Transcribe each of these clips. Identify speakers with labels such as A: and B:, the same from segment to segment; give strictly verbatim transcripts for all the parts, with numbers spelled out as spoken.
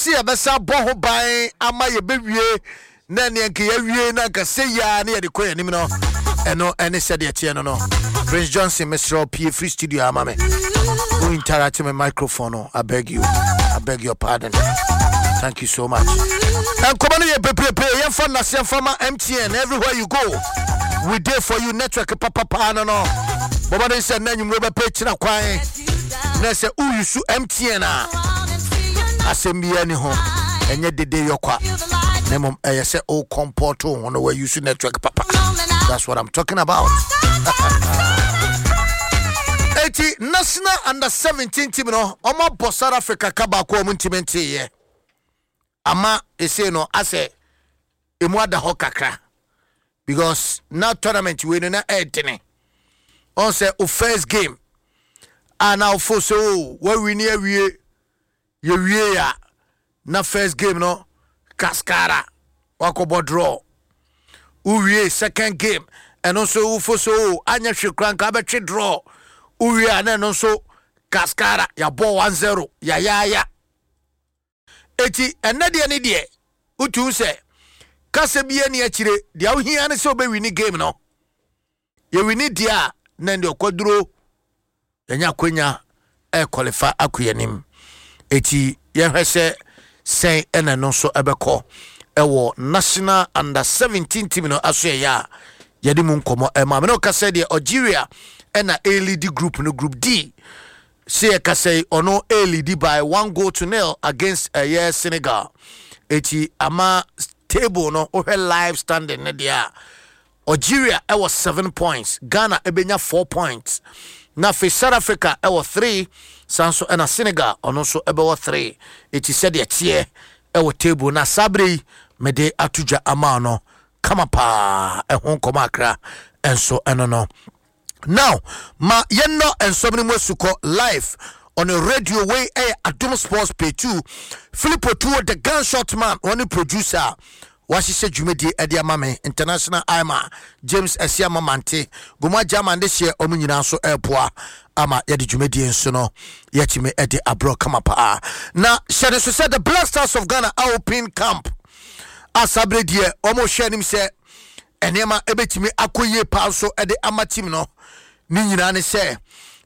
A: Sɛ yɛbɛsa bɔ ho ban ama yɛbɛwie na neɛ nka yɛawie na nka sɛ yia ne yɛde kɔ yɛn anim no, ɛno ɛne sɛdeɛ teɛ no no Prince Johnson, mesrɛ wo, pie free studio ama me. Wo interact me microphone no, I beg you, I beg your pardon. Thank you so much. Nkɔmɔ no yɛ bebrebe. Yɛmfa nnase yɛmfa ma M T N. Everywhere you go, we there for you. Network papapaa no no bɔbɔden sɛ nna nwummerɛ bɛpɛ kyina kwan na sɛ woyusu M T N a, asɛm biara ni ho. Ɛnyɛ dede yɔkwa na mmom ɛyɛ sɛ wo comport wo ho no, woayusu network papa. That's what I'm talking about. Eti national under seventeen team no, ɔmo abɔ South Africa ka baako a ɔmo ntumi nteeɛ ama ese no asɛ emu ada hɔ kakra, because na tournament wei no na ɛɛdene. Ɔn sɛ o first game a na ofo sɛ o wawi ne awie, yɛwie a na first game no kaskara wakɔbɔ draw. Wowie second game, ɛno nso wofo sɛ o anyɛ hwe kora nka wabɛtwe draw. Wowie a na ɛno nso kaskara yɛabɔ one zero yayaaya. Eti ɛnɛ deɛ ne deɛ wotu sɛ kasa bi ani akyire deɛ wohia ne sɛ wobɛwi ne game no. Yɛwi ne deɛ a na deɛ ɔkɔduro yɛnya akwanya ɛkɔlefa akɔ yɛnim. Eti yɛhwɛ sɛ sɛn ɛna no nso ɛbɛkɔ ɛwɔ national under seventeen team no aso. Ɛyɛ a yɛde mu nkɔmmɔ ɛma mene ɔka sɛ deɛ Algeria ɛna ɛ lead group no, Group D. Sɛ yɛka sɛ ɔno ɛ lead by one goal to nil against ɛyɛ Senegal. Eti ama table no, wohwɛ live standing ne deɛ a, Algeria ɛwɔ seven points, Ghana ɛbɛnya four points, na afei South Africa ɛwɔ three, san so ɛna Senegal ɔno nso ɛbɛwɔ three. Eti sɛdeɛ teɛ ɛwɔ table na saa bere yi mede ato dwa ama no kama paa. Ɛho nkɔmɔ akra ɛnso ɛno no. Now ma yɛnnɔ nsɛm no mu asukɔ live on a radio. Wei ɛyɛ Adom Sports Pay two. Philip Otuo, the Gunshot Man, wɔne producer a wahyehyɛ dwumadie ɛde ama me. International ima James Asiama Mante Goma German de hyɛ ɔmo nyinaa nso ɛɛboa ama yɛde dwumadie nso no yɛtumi ɛde aborɔ kama paa. Na hyɛ ne so sɛ the Black Stars of Ghana a open camp asabere deɛ, ɔmo hwɛ anim sɛ nneɛma ɛbɛtumi akɔ yie paa nso ɛde ama team no. Ne nyinaa ne sɛ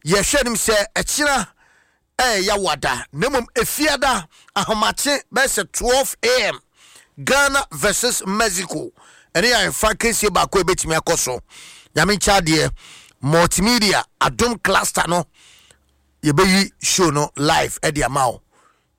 A: yɛhwɛ anim sɛ ɛkyina ɛyɛ Yawada na mmom Efiada ahomakye bɛyɛ sɛ twelve a m, Ghana versus Mexico. Ɛne yɛ ahemfa kɛsie baako a ɛbɛtumi akɔ so. Nyame nkyɛ adeɛ, multimedia Adom cluster no yɛbɛyi show no live ɛde ama wo.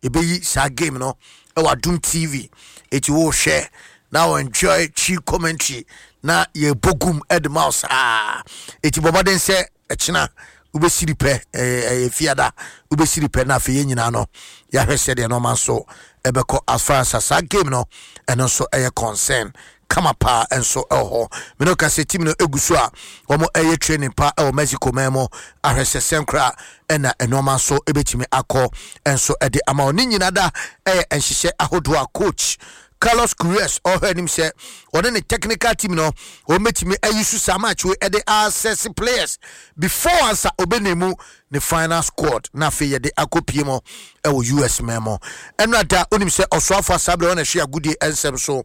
A: Yɛbɛyi saa game no ɛwɔ Adom T V. Eti wohwɛ na wo enjoy Twi commentary na yɛbɔ gum ɛde ma wo saa. Eti bɔ mmɔden sɛ ɛkyena wobɛsiri pɛ, ɛyɛ Fiada, wobɛsiri pɛ na afei yɛn nyinaa no yɛahwɛ sɛdeɛ nɔɔma nso ɛbɛkɔ as far as saa game no ɛno nso ɛyɛ concern kama paa nso ɛwɔ hɔ. Mene ka sɛ team no egu so a wɔn ɛyɛ training pa ɛwɔ Mexico man mu, ahwɛ sɛ sɛnkora ɛna nneɛma nso ɛbɛtumi akɔ nso ɛde ama wɔn. Ne nyinaa da ɛyɛ nhyehyɛ ahodoɔ a coach Carlos Queiroz ɔhwɛ anim sɛ ɔne ne technical team no wɔn bɛtumi ayi so saa match wei ɛde assess players before ansa ɔbɛnemu ne final squad na afei yɛde akɔ pie mu ɛwɔ U S man mu. Ɛno ada onim sɛ ɔsoafo asabrɛ wɔn ɛhwɛ agodie nsɛm so,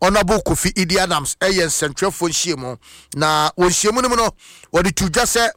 A: Honourable Kofi Idi Adams, ɛyɛ nsɛntwerɛfoɔ nhyiamu na wɔn nhyiamu no mu no wɔde to dwa sɛ